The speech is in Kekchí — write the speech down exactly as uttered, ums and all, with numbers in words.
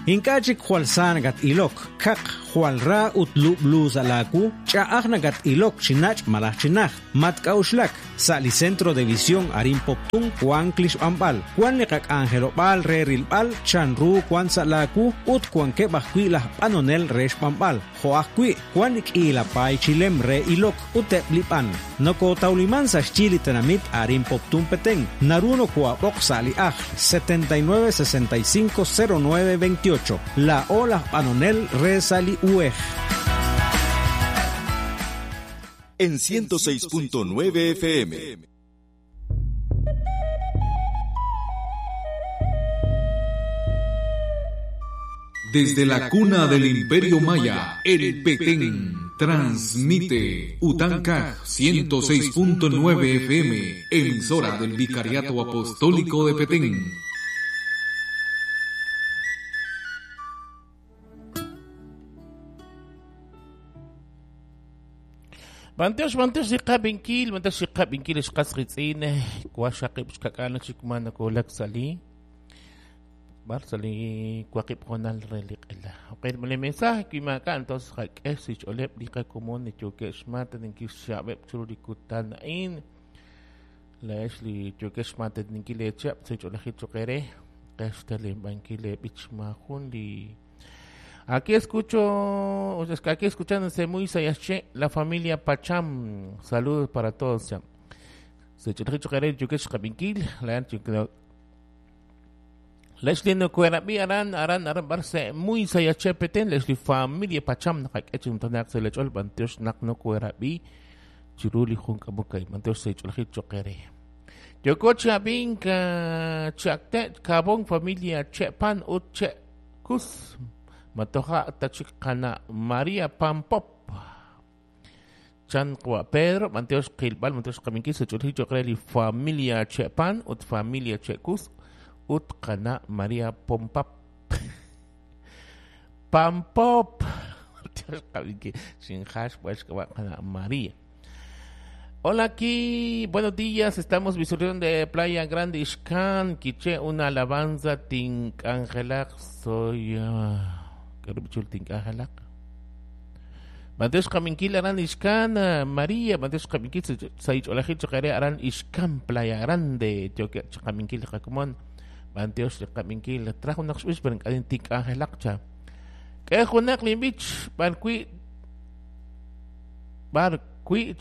Ink'a' chik jwal sa nakat-ilok, kaq, jwal ra ut lub'lu sa' laawu, ch'a'aj nakat-ilok chi nach' malaj chi najt. Matk'a'uxlak, sa' li Centro de Visión arin Poptún wank li xb'anb'al, wan li qak'anjelob'aal re rilb'al chanru wan sa' laawu ut wankeb' ajwi' laj b'anonel re xb'anb'al, jo' ajwi' wan li k'iila paay chilem re ilok ut eb' li b'an. Nokotawliman sa' xyi li tenamit arin Poptún Petén, naru nokoab'oq sa' li ajl setenta y nueve sesenta y cinco cero nueve veintiocho. La ola b'anonel re sa' li U E G. En ciento seis punto nueve F M. Desde la cuna del Imperio Maya, el Petén transmite Utanca ciento seis punto nueve F M, emisora del Vicariato Apostólico de Petén. Banteos, banteos, xiqabinkil, banteos, xiqabinkil, xqasqitz'in, kuaxaqib' xkak'ana chikmana kulak sali. Bar sali kuaqib' jonal re liq'ela. Okay, mole mensaje kimaka entonces jak'es ixoleb' liqakomon yokex mata ninkixxab'eb' churu likutan in. La ex li yokex mata ninkilechab' sicholajit choqere, qextalem bankile bichmajun li. Aquí escucho, o sea, aquí escuchándose muy sayache, la familia Pacham. Saludos para todos. Se Leslie no cuerabi aran aran aran barse muy sayache peten Leslie familia Pacham nakak se lechol banteos nak no cuerabi chiruli junka bukay banteos se cholajit Yokocha binka chakte kabon familia chepan uche kus Matoja tachikana María Pampop Chan Kwa Pedro Manteos Kilbal Manteos Kaminkis Chulhicho Kreli familia Chepan ut familia Chekus ut kana María Pompap Pampop Manteos Kaminkis sin hash pues kana María. Hola aquí, buenos días, estamos visualizando de Playa Grande Ixcán, Quiché, una alabanza Tinkangelak, soy uh, Banteos Kaminkil aran Ixcán, María, Banteos Kaminkil, Saich Olajit Chocare aran Ixcán, Playa Grande, Kaminkil Jacomón, Banteos Kaminkil, trajo una pero en Tinkangelak cha. Que Junak Limbich, Barqui, Barqui,